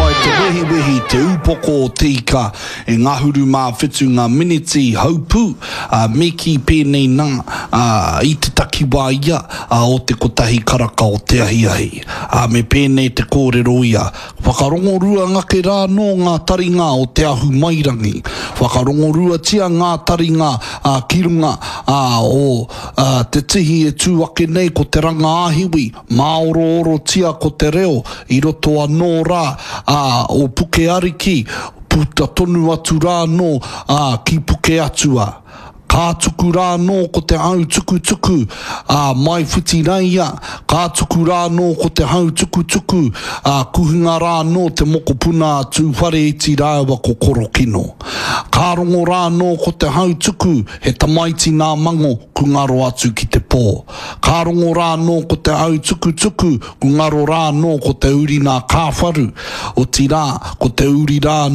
ai te wehiwehi, te upoko o te ika e ngahuru mā whitu ngā miniti haupū, ā, me kī pēnei nā, ā, i te takiwā ia, ā, o te kotahi karaka o te ahiahi. Ā, me pēnei te kōrero ia, Whakarongorua ngake rā nō ngā taringa o Te Ahumairangi. Whakarongoruatia ngā taringa, ā, ki runga, ā, o, ā, te tihi e tū ake nei ko Te Ranga-ā-hiwi, Māoroorotia ko te reo i roto anō rā, ā, o Puke Ariki, puta tonu atu rā anō, ā, ki Puke Atua. Ka tuku rā anō ko te hau tukutuku, ā, mai Whitiraia, ka tuku rā anō ko te hau tukutuku, ā, kuhunga rā anō te mokopuna a Tūwhareiti rāua ko Korokino. Ka rongo rā anō ko te hau tuku, he tamaiti nā Mango, ku ngaro atu ki te pō. Ka rongo rā anō ko te au tukutuku, ku ngaro rā anō ko te uri nā Kāwharu, otirā, ko te uri rā anō.